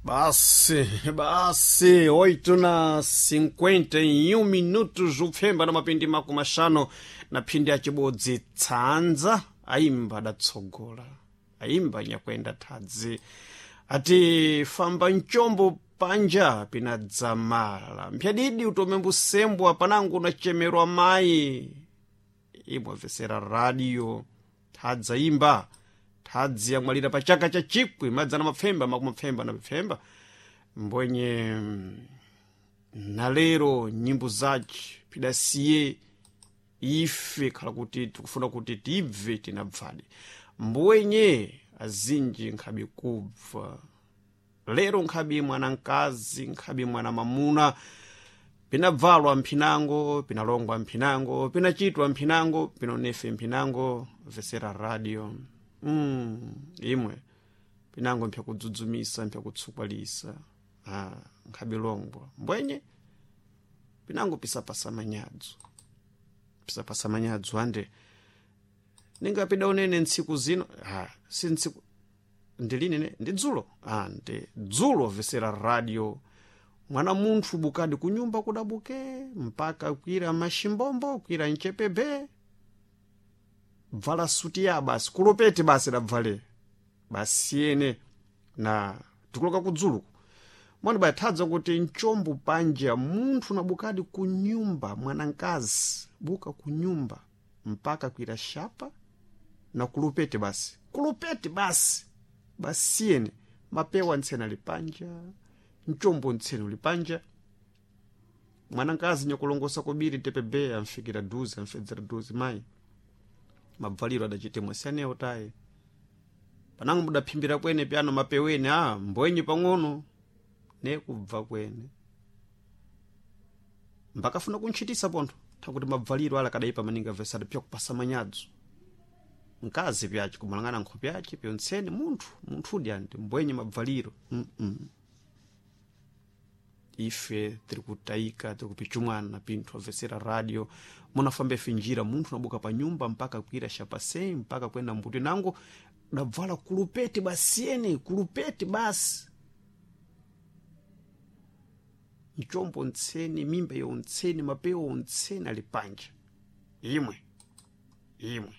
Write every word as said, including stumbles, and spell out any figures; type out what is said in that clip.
Basi, basi, oito na cinquenta e um minutos, upfemba na mapindi mako mashano na phindi acibodzi tsanza aimba adatsogola aimba nyakwenda thadzi ati famba mchombo panja pinadzamala mphyadidi utome mbusembwa panangu unachemerwa mayi imwavesera radio thadzi aimba thadzi yamwalira pa chaka cha chikwi madzana mapfemba makumapfemba na pfemba mbwenye na lero nyimbo zace pidasiye ife khala kuti tikufuna kuti tibve tinabvadi mbwenye azinji nkhabe kubva lero nkhabe mwana mkazi nkhabe mwana mamuna pinabvalwa mphinango pinalongwa mphinango pinachitwa mphinango pinonefe mphinango vesera radio mm, imwe pinango mphyakudzudzumisa mphyakutsukwalisa ah, nkhabe longwa mbwenye pinango pisapasa manyadzo pisapasa manyadzo ande ningapida unene ntsiku zino ah, si ntsiku ndilini ne ndi dzulo ah, ndi dzulo vesera radio mwana munthu bukadi kunyumba kudabuke mpaka kwira mashimbombo kwira mchepebe bvala suti ya basi kulopete basi dabvale basi ene na tikuloka kudzuluku mwana bathadza kuti mchombo panja munthu nabukadi kunyumba mwanankazi buka kunyumba mpaka kwira shapa na kulupete basi kulupete basi basi ene mapewa ntsena lipanja mchombo ntsena lipanja mwanankazi nyakulongosa kubiri tepebe amfikira duzi amfedzera duzi mayi mabvaliro adachitemwa sianewo tayi panango mudaphimbira kwene pyano mapeweni a mbwenyi pang'ono ne kubva kwene mbakafuna kuntchitisa pontho thakuti mabvaliro ala kadaipa maningi avesada pyakupasa manyadzo mkazi pyace kumalangana nkhope yace pyontsene munthu munthudi anti mbwenye mabvaliro mm -mm. Ife tiri kutayika tiri kupichumwana pinthu avesera radio munafamba ife njira munthu nabuka pa nyumba mpaka kwira shapasei mpaka kwenda mbuti nango dabvala kulupete basiyene kulupete basi mchombo ntsene mimba yontsene mapewa ontsene ali panja imwe imwe